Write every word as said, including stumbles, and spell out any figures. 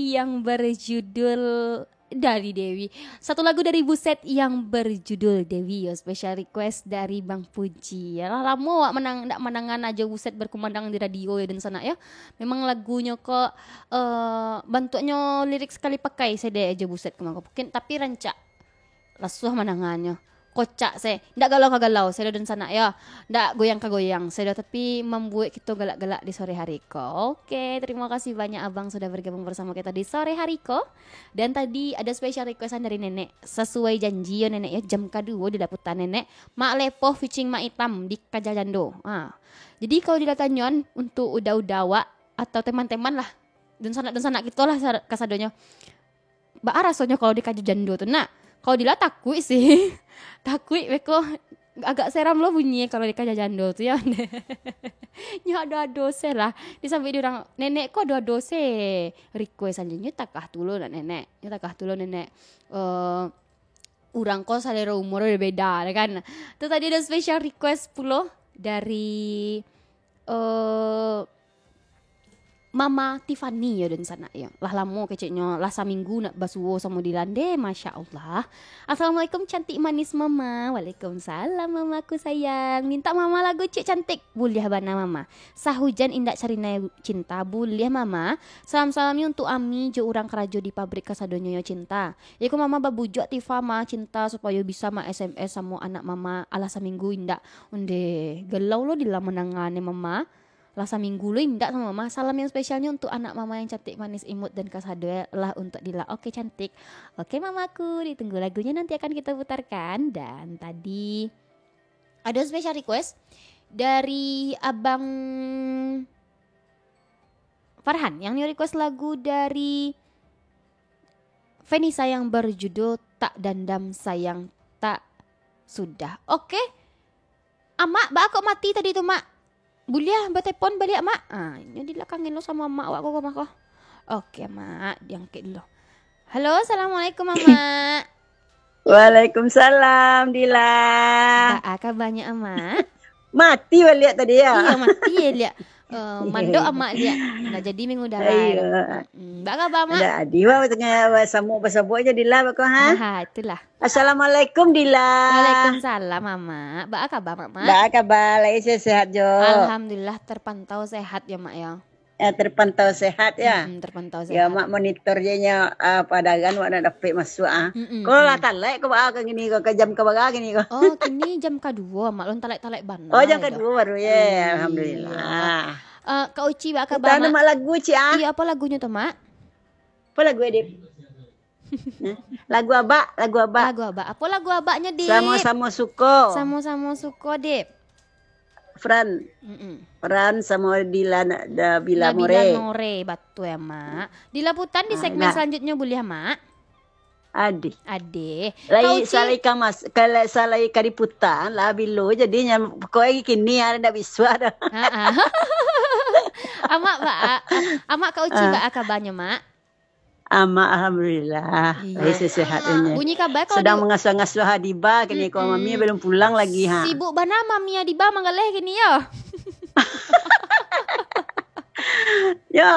yang berjudul dari Dewi. Satu lagu dari Buset yang berjudul Dewi, yo, special request dari Bang Puji. Lah lamo awak manang, ndak mandangan Ajo Buset berkumandang di radio, yo, dunsanak, yo. Memang lagunyo ko, eh, bantuaknyo lirik sekali pakai, sadek Ajo Buset ko mangko. Mungkin, tapi rancak lasuah mandangannyo. Kocak se, ndak galau ka galau, sado dunsanak, yo. Ndak goyang ka goyang, sado, tapi mambuek kito galak-galak di sore hari ko. Oke, terima kasih banyak Abang sudah bergabung bersama kita di sore hari ko. Dan tadi ada special requestan dari Nenek. Sasuai janji, yo, Nenek, yo, jam kaduo dilaputan Nenek. Mak Lepoh featuring Mak Itam di Kaja Jando. Ha. Jadi, kalau dilatanyoan untuk uda-uda awak atau teman-teman lah, dunsanak-dunsanak kito lah sa-, kasadonyo. Baa rasonyo kalau di Kaja Jando tu, nak? Kalau Dila takuik sih. Takuik beko, agak seram lo bunyi kalau di Kaja Jando tu, yo. Nyo ado-ado se lah. Disambuik di urang, Nenek ko ado-ado se request anjo. Nyo takah tu lo, nak, Nenek. Nyo takah tu lo, Nenek. Eh, urang ko salero umur beda, kan? Tu tadi ada special request pulo dari, eh, Mama Tiffany, yo, dunsanak, yo. Lah lamo keceknyo, lah saminggu ndak basuo samo Dila, ndeh, Masya Allah. Assalamualaikum, cantik manis Mama. Waalaikumsalam, Mamaku sayang. Minta Mama lagu Cik Cantik. Buliah bana, Mama. Sahujan Indak Carina Cinta. Buliah, Mama. Salam-salamnyo untuk Ami jo urang karajo di pabrik kasadonyo, yo, Cinta. Iko Mama babujuak Tifa, Ma, Cinta, supayo bisa, Ma, S M S samo anak Mama. Alah saminggu indak. Ondeh, galau lo Dila mandanga ne, Mama. Lah saminggu lo indak samo Mama. Salam yang spesialnyo untuk anak Mama yang cantik, manis, imut, dan kasado lah untuk Dila. Oke, cantik. Oke, Mamaku, ditunggu lagunya nanti akan kita putarkan. Dan tadi ada special request dari Abang Farhan yang nio request lagu dari Fenisa yang berjudul Tak Dandam Sayang Tak Sudah. Oke. Amak, baa kok mati tadi tu, Mak? Buliah batepon baliak, Mak? Ah, inyo dilakangin lo samo amak awak ko, ko, mah, ko. Oke, Mak, diangkek dulu. Halo, assalamualaikum, Amak. Waalaikumsalam, Dila. Baa kabanyo, Amak? Mati baliak tadi, yo? Iyo, mati baliak. Eh, mandok amak liak. Ndak jadi mangudara. Iyo. Hmm, baa kaba, Mak? Ndak jadi, wah, tangah basabuik-basabuik se, Dila, beko, ha? Ha, itulah. Assalamualaikum, Dila. Waalaikumsalam, Amak. Baa kaba, Mak? Baa kaba, lai sehat-sehat jo? Alhamdulillah, terpantau sehat yo, Mak, yo. Eh, terpantau sehat, yo? Mm-mm, terpantau sehat. Yo, Mak monitor se nyo, ah, padagangan wak nak dapek masuak, ah. Mm-mm, mm. Ko lah talaik ko, baa ko kini ko, ka jam ka bara kini ko? Oh, kini jam kaduo, Mak. Lun talaik-talaik bana. Oh, jam kaduo baru, yo. Iyo. Alhamdulillah. Eh, Kak Uci, baa kaba, Mak? Mak lagu, Ci, ah. Iyo, apo lagunyo tu, Mak? Apo lagu, Dip? Nah, lagu abak, lagu abak. Lagu abak. Apo lagu abaknyo, Dip? Samo-samo suko. Samo-samo suko, Dip. Fran. Mm-mm. Fran samo Dila, da, Bila Nabila More. More, batua, Mak. Dilaputan di segmen selanjutnyo buliah, Mak? Adih. Adih. Lai Kak Uci. Salai ka mas-, kalau salai ka diputan lah bilo jadinyo, pokoknyo kini ado ndak bisuak dah. Ha-ha. Amak, Mak, a-, Amak, Kak Uci, ah, baa kabanyo, Mak? Amak, alhamdulillah. Iyo. Lai sehat-sehat inyo. Bunyi kaba ko sedang di- mangasuah-ngasuah Adiba kini ko, mm-mm, mami balun pulang lagi, ha. Sibuk bana mami Adiba manggaleh kini, yo. Yo,